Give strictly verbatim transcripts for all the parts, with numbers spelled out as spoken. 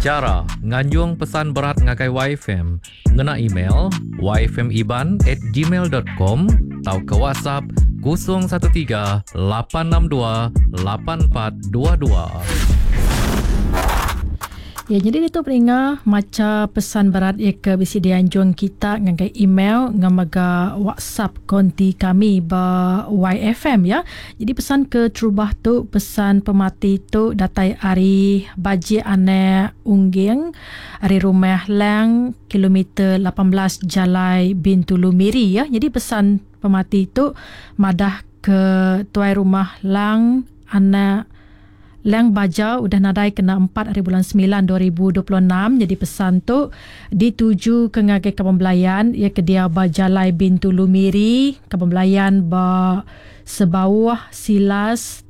Chara nganjung pesan berat ngagai Y F M ngena email y f m iban at gmail dot com tauka WhatsApp kosong satu tiga lapan enam dua lapan empat dua dua. Ya, jadi itu peringa maca pesan berat ia ke bisi dianjung kita ngagai email ngamaga WhatsApp konti kami ba Y F M ya. Jadi pesan ke terubah tu pesan pemati tu datai ari Baji Anak Ungging ari rumah Lang kilometer lapan belas Jalai Bintulu Miri ya. Jadi pesan pemati tu madah ke tuai rumah Lang Anak Lang Baja udah nadai kena empat hari bulan sembilan dua ribu dua puluh enam. Jadi pesan tu dituju ke ngagai Kampung Belayan ia ke dia ba Jalai Bintulu Miri, Kampung Belayan ba Sebauh, Silas,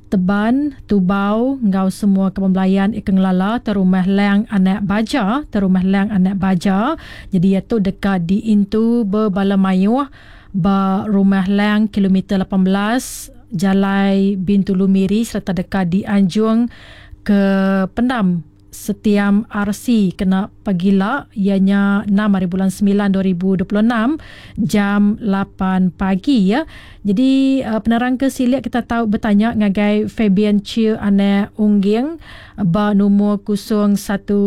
Teban, Tubau ngau semua Kampung Belayan ia ke ngelala terumah Lang Anak Baja, terumah Lang Anak Baja. Jadi ia tu dekat diintu berbala mayuh ba rumah Lang kilometer lapan belas Jalai Bintulu Miri serta dekat dianjung ke Pendam Setiam R C kena pagila ianya enam hari bulan sembilan dua ribu dua puluh enam jam lapan pagi ya. Jadi uh, penerang ke silik kita tahu bertanya ngagai Fabian Chiu Anak Ungging ba nombor kosong satu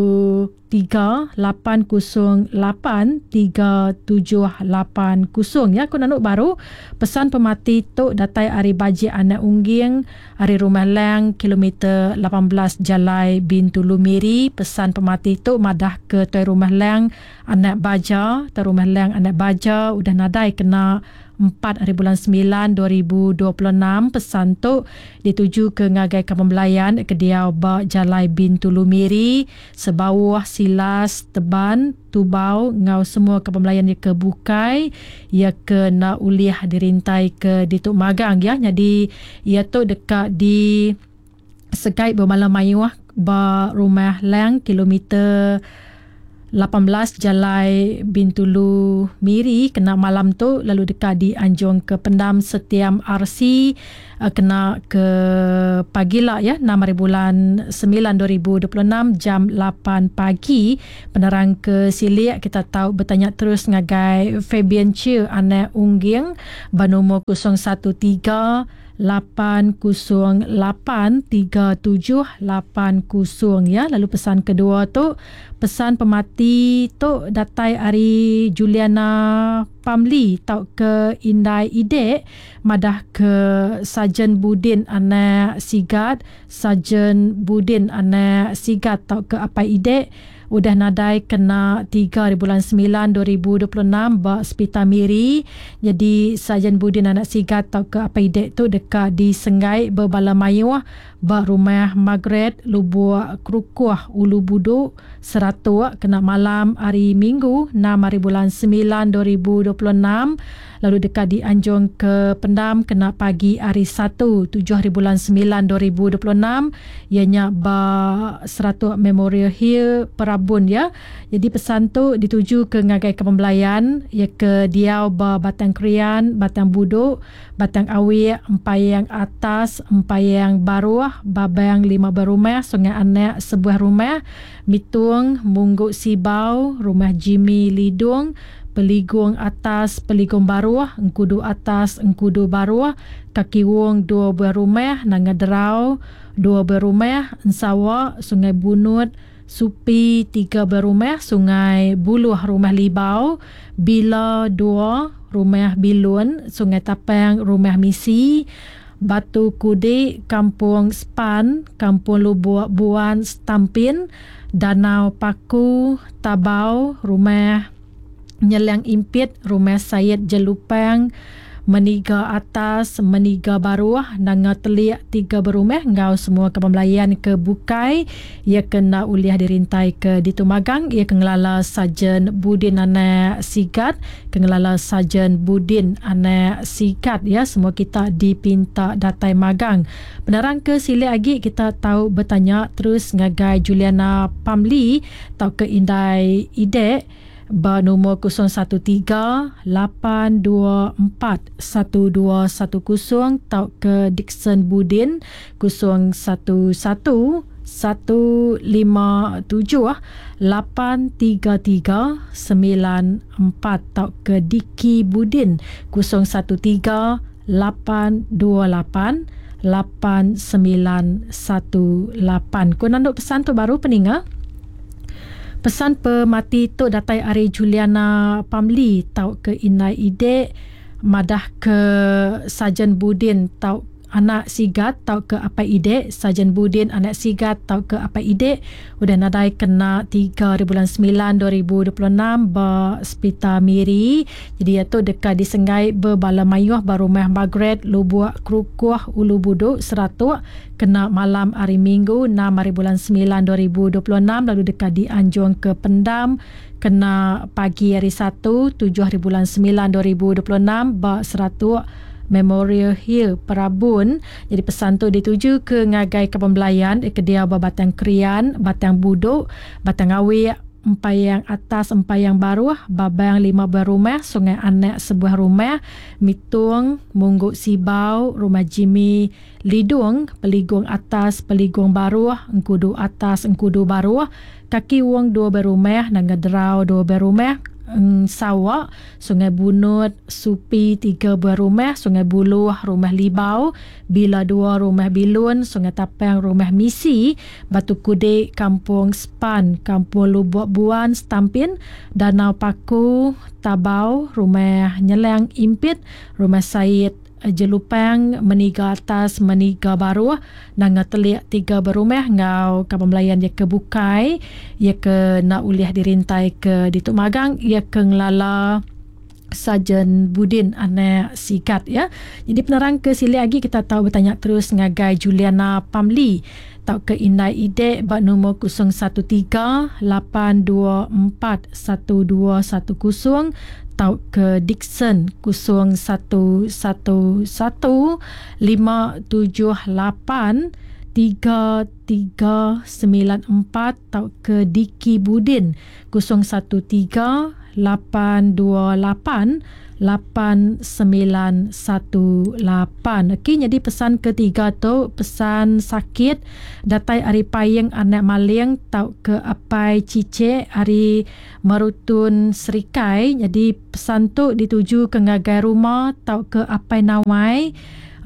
tiga lapan kosong lapan tiga tujuh lapan kosong ya. Aku nanuk baru pesan pemati tu datai ari Baji Anak Ungging ari Rumah Lang kilometer lapan belas Jalai Bintulu Miri. Pesan pemati tu madah ke tuai Rumah Lang Anak Baja, tuai Rumah Lang Anak Baja udah nadai kena empat hari bulan sembilan dua ribu dua puluh enam. Pesan tu dituju ke ngagai Kampung Belayan ke diau ba Jalai Bintulu Miri, Sebauh, Silas, Teban, Tubau ngau semua Kampung Belayan ke bukai ia ke nak ulih dirintai ke dituk magang ya. Jadi ia tu dekat di Segai bermalam mayuh ba Rumah Lang kilometer lapan belas Jalai Bintulu Miri kena malam tu, lalu dekat di Anjung ke Pendam Setiam R C kena ke pagi lah ya, enam hari bulan sembilan dua ribu dua puluh enam jam lapan pagi. Penerang ke Silik kita tahu bertanya terus ngagai Fabian Chiu Anak Ungging bernombor kosong satu tiga lapan kosong lapan tiga tujuh lapan kosong ya. Lalu pesan kedua tu pesan pemati tu datai ari Juliana Pamli tau ke Indai Idek madah ke Sarjan Budin Anak Sigat, Sarjan Budin Anak Sigat tau ke Apai Idek udah nadai kena tiga hari bulan sembilan dua ribu dua puluh enam ba Sepitar Miri. Jadi Sarjan Budin Anak Sigat tau ke Apai Idek tu dekat di Senggai berbala mayuh ba rumah Margaret Lubuk Kerukuh Ulu Buduk Seratuk kena malam hari Minggu enam hari bulan sembilan dua ribu dua puluh enam. Lalu dekat di Anjung ke Pendam kena pagi hari Satu tujuh hari bulan sembilan dua ribu dua puluh enam ianya ba Seratuk Memorial Hill Perabun ya. Jadi pesan tu dituju ke ngagai Kampung Belayan ya ke diau ba Batang Krian, Batang Buduk, Batang Awik, Empayang Atas, Empayang Baruh, Babang lima berumah, Sungai Anak sebuah rumah, Mitung, Mungguk Sibau, Rumah Jimmy Lidung, Peligung Atas, Peligung Baruh, Engkudu Atas, Engkudu Baruh, Kaki Wong dua buah rumah, Nanga Derau dua buah rumah, Ensawa, Sungai Bunut, Supi tiga buah rumah, Sungai Buluh Rumah Libau, Bila dua Rumah Bilun, Sungai Tapang Rumah Misi, Batu Kudik, Kampung Span, Kampung Lubuk Buan Stampin, Danau Paku, Tabau, Rumah Nyelang Impit, Rumah Sayed Jelupang, Meniga Atas, Meniga Baruh, Nanga Telik tiga berumah ngau semua Kampung Belayan ke Bukai ia kena uliah dirintai ke Ditumagang ia ke ngelala Sarjan Budin Anak Sigat, ke ngelala Sarjan Budin Anak Sigat ya. Semua kita dipinta datai magang. Penerang ke silik lagi kita tahu bertanya terus ngagai Juliana Pamli tau ke Indai Idek ba nombor kosong satu tiga lapan dua empat satu dua satu kosong tau ke Dixon Budin kosong satu satu satu lima tujuh lapan tiga tiga sembilan empat tau ke Diki Budin kosong satu tiga lapan dua lapan lapan sembilan satu lapan. Ku nanduk pesan tu baru peninga. Pesan pemati tu datai ari Juliana Pamli tau ke Inai Ide madah ke Sajen Budin tau anak sigat tau ke apai ide Sajen Budin anak sigat tau ke apai ide udah nadai kena tiga hari bulan sembilan dua ribu dua puluh enam ba Sepital Miri. Jadi ia tu dekat disenggai berbala mayuh ba rumah Margaret Lubuk Kerukuh Ulu Buduk Seratuk kena malam hari Minggu enam hari bulan sembilan dua ribu dua puluh enam lalu dekat dianjung ke Pendam kena pagi hari Satu tujuh hari bulan sembilan dua ribu dua puluh enam ba Seratuk Memorial Hill Perabun. Jadi pesan tu dituju ke ngagai Kampung Belayan, ke dia ba Batang Krian, Batang Buduk, Batang Awik, Empayang Atas, Empayang Baruh, Babang lima buah rumah, Sungai Anak sebuah rumah, Mitung, Mungguk Sibau, Rumah Jimmy Lidung, Peligung Atas, Peligung Baruh, Engkudu Atas, Engkudu Baruh, Kaki Wong dua buah rumah, Nanga Derau dua buah rumah, Sawak, Sungai Bunut, Supi tiga buah rumah, Sungai Buluh, Rumah Libau, Bila dua Rumah Bilun, Sungai Tapang, Rumah Misi, Batu Kudik, Kampung Span, Kampung Lubuk Buan, Stampin, Danau Paku, Tabau, Rumah Nyelang Impit, Rumah Said Jelupang, Meniga Atas, Meniga Baruh, Nanga Telik tiga berumah ngau Kampung Melayan ia ke Bukai, ia ke nak uliah dirintai ke Dituk Magang, ia ke Ngelala Sajen Budin anak sigat ya. Jadi penerang ke sili lagi kita tahu bertanya terus ngagai Juliana Pamli tau ke Indai Ide bak nombor kosong satu tiga lapan dua empat satu dua satu kosong tau ke Dixon kosong satu satu satu lima tujuh lapan tiga tiga sembilan empat tau ke Diki Budin kosong satu tiga lapan dua lapan lapan sembilan satu lapan. Okey, jadi pesan ketiga tu pesan sakit datai ari Payeng anak maling tau ke apai cicek ari Merutun Serikai. Jadi pesan tu dituju ke ngagai rumah tau ke apai Nawai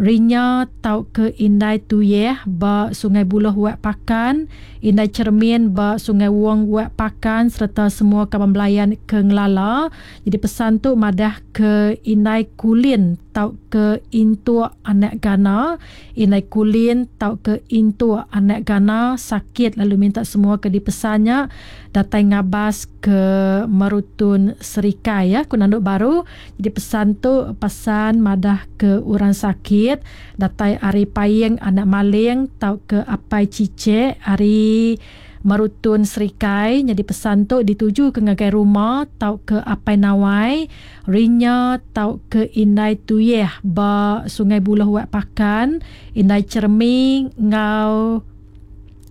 Rinya tau ke Indai Tuyeh ba Sungai Buloh Wak Pakan, Indai Cermin ba Sungai Wong Wak Pakan serta semua kaban belayan ke Ngelala. Jadi pesan tu madah ke Indai Kulin tau ke Intuk anak Gana, Indai Kulin tau ke Intuk anak Gana sakit lalu minta semua ke dipesannya datai ngabas ke Merutun Serikai ya, ku nanduk baru. Jadi pesan tu pesan madah ke orang sakit datai ari Payeng anak maling tau ke apai cicek ari Merutun Serikai. Jadi pesan tu dituju ke ngagai rumah tau ke apai Nawai Rinya tau ke Indai Tuyeh ba Sungai Buloh Wak Pakan, Indai Cermi ngau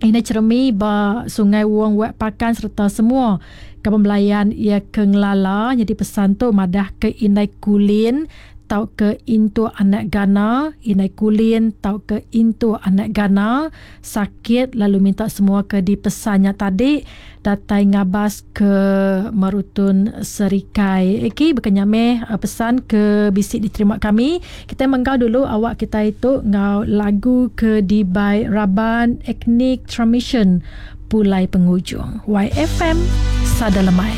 Indai Cermi ba Sungai Wong Wak Pakan serta semua kaban belayan ia ke Ngelala. Jadi pesan tu madah ke Indai Kulin tau ke Intu anak Gana, Indai Kulin tau ke Intu anak Gana sakit lalu minta semua ke dipesannya tadi datai ngabas ke Merutun Serikai. Okey, bukannya meh pesan ke bisik diterima kami. Kita menggau dulu awak kita itu ngau lagu ke di by Raban Ethnic Transmission Pulai Pengujung. Y F M Sada Lemai.